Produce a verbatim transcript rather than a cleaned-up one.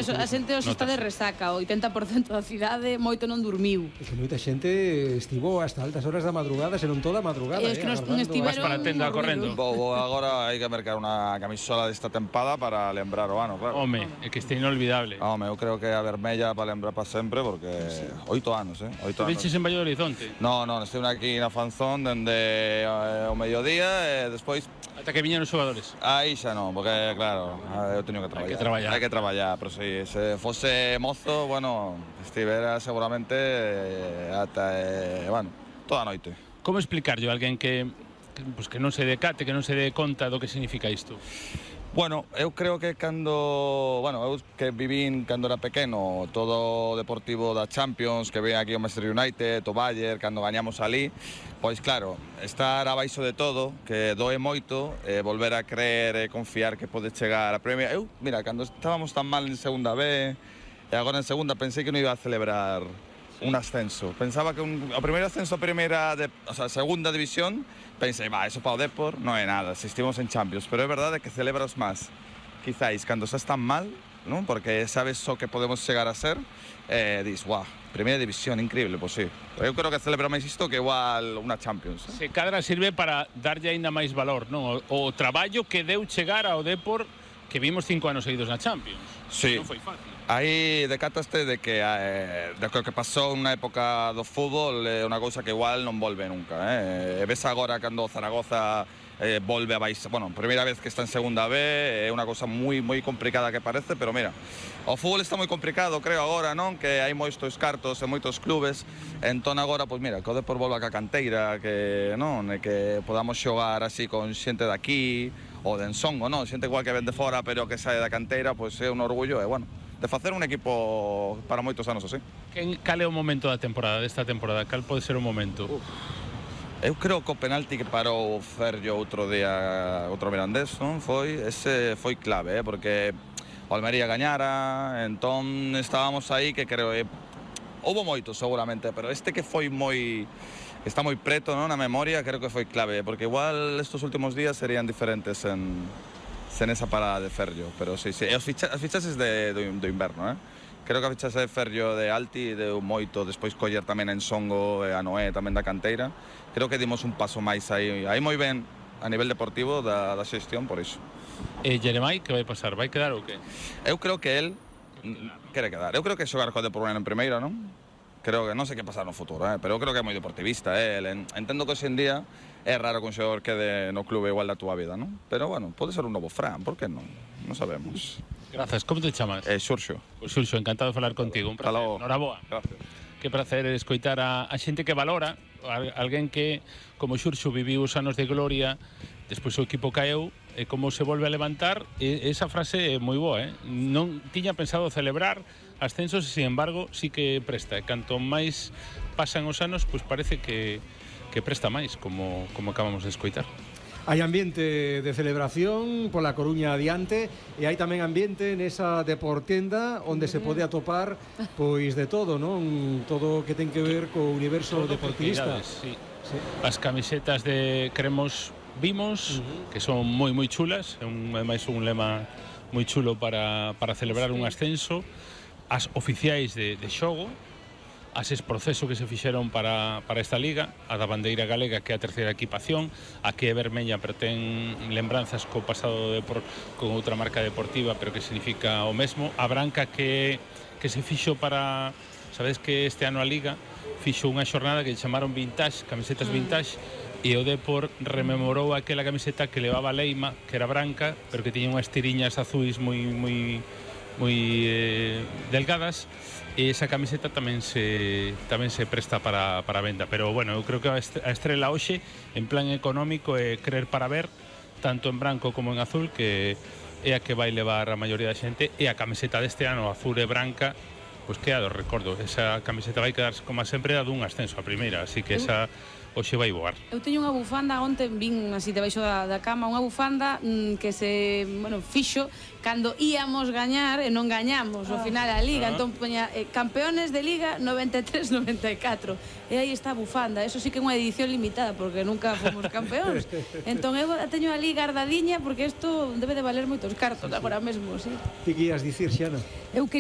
A xente hoxe está de resaca, o oitenta por cento da cidade moito non dormiu. É que moita xente estivo hasta altas horas da madrugada, senón toda a madrugada. É que non estiveron... Vas para a tenda correndo. Bo, agora hai que mercar unha camisola desta tempada para lembrar o ano, claro. Home, é que este inolvidable. Home, eu creo que a vermella para lembrar para sempre, porque oito anos, eh? Oito anos. Viches en Valle do Horizonte? No, non, estive aquí na Fanzón dende o mediodía e despois... Ata que viñan os xogadores? Aí xa non, porque, claro, eu teño que traballar. Hai que traballar. Hai que traballar, pero si se fose mozo, bueno, estivera seguramente ata, eh, bueno, toda a noite. Como explicarlle a alguén que, que, pues, que non se decate, que non se dé conta do que significa isto? Bueno, eu creo que cando, bueno, eu que vivín cando era pequeno todo o deportivo da Champions, que ve aquí o Manchester United, o Bayern, cando gañamos ali, pois claro, estar abaixo de todo, que doe moito, eh, volver a creer e confiar que pode chegar a Premier. Eu, mira, cando estábamos tan mal en segunda B, e agora en segunda pensei que non iba a celebrar un ascenso. Pensaba que un, o primeiro ascenso a primeira, de, o sea, segunda división, pensei, va, eso para o Depor non é nada, se estivemos en Champions, pero é verdade que celebras máis, quizáis, cando xa están mal, ¿no? Porque sabes só que podemos chegar a ser, eh, dis, guau, primeira división, increíble, pois sí. Eu creo que celebra máis isto que igual unha Champions. Se Eh? cadra sirve para darlle aínda máis valor, non? O, o traballo que deu chegar ao Depor, que vimos cinco anos seguidos na Champions. Sí. Non foi fácil. Aí decataste de que eh, de que pasou unha época do fútbol é unha cousa que igual non volve nunca, eh? E ves agora cando Zaragoza eh, volve a baixar, bueno, primeira vez que está en segunda B, é unha cousa moi moi complicada que parece, pero mira, o fútbol está moi complicado, creo agora, non? Que hai moitos cartos e moitos clubes, entón agora, pois mira, que o Depor volva ca canteira, que non, e que podamos xogar así con xente de aquí ou de Ensongo, non? Xente igual que ven de fora, pero que sae da canteira, pois é un orgullo, e bueno, de facer un equipo para moitos anos así. Quen, cal é o momento da temporada, desta temporada? Cal pode ser o momento? Uf. Eu creo que o penalti que parou Ferllo outro día, outro Mirandés, non? Foi, ese foi clave, eh? Porque o Almería gañara, entón estábamos aí que creo que houbo moitos seguramente, pero este que foi moi, está moi preto, non? Na memoria, creo que foi clave, porque igual estos últimos días serían diferentes en sen esa parada de Ferllo, pero sí, sí. E os ficha, as fichases de, do, do inverno, eh? Creo que a fichase de Ferllo de Alti deu moito, despois coller tamén en Ensongo e a Noé tamén da canteira. Creo que dimos un paso máis aí, aí moi ben a nivel deportivo da, da xestión, por iso. E Jeremai, que vai pasar? Vai quedar ou que? Eu creo que el quere quedar. Eu creo que xogar co Depor en primeira, non? Creo que non sei que pasar no futuro, eh? Pero eu creo que é moi deportivista, eh? Entendo que hoxe en día é raro que un xogador quede no clube igual da túa vida, non? Pero, bueno, pode ser un novo Fran, por que non? Non sabemos. Grazas, como te chamas? Eh, Xurxo. Pois Xurxo, encantado de falar contigo, un placer. Noraboa. Gracias. Que prazer escoitar a, a xente que valora, a, alguén que, como Xurxo, viviu os anos de gloria, despois o equipo caeu, e como se volve a levantar, e, esa frase é moi boa, eh? Non tiña pensado celebrar ascensos, e, sin embargo, sí que presta. E canto máis pasan os anos, pois parece que que presta máis, como, como acabamos de escoitar. Hai ambiente de celebración pola Coruña adiante e hai tamén ambiente nesa deportenda onde se pode atopar pois de todo, non? Todo o que ten que ver co universo todo deportivista. Sí. Sí. As camisetas de Cremos Vimos, uh-huh. que son moi moi chulas, é un, máis un lema moi chulo para, para celebrar sí. un ascenso, as oficiais de, de xogo, as proceso que se fixeron para, para esta liga, a da bandeira galega, que é a terceira equipación, a que é vermella, pero ten lembranzas co pasado de por, con outra marca deportiva, pero que significa o mesmo, a branca que, que se fixo para, sabedes que este ano a liga fixo unha xornada que chamaron vintage, camisetas vintage, e o Depor rememorou aquela camiseta que levaba Leima, que era branca, pero que tiña unhas tiriñas azuis moi moi moi eh, delgadas, e esa camiseta tamén se tamén se presta para, para venda, pero bueno, eu creo que a estrela hoxe en plan económico é Crer para Ver, tanto en branco como en azul, que é a que vai levar a maioría da xente, e a camiseta deste ano azul e branca, pois que a do recordo, esa camiseta vai quedar como sempre a dun ascenso a primeira, así que esa hoxe vai voar. Eu teño unha bufanda, onte vin así debaixo da, da cama, unha bufanda mm, que se, bueno, fixo cando íamos gañar e non gañamos ao final a Liga, Ah. entón poña eh, campeones de Liga noventa e tres noventa e catro, e aí está a bufanda. Eso sí que é unha edición limitada porque nunca fomos campeóns. Entón eu a teño ali guardadiña porque isto debe de valer moitos cartos agora mesmo, sí. Que guías dicir, Xana? Eu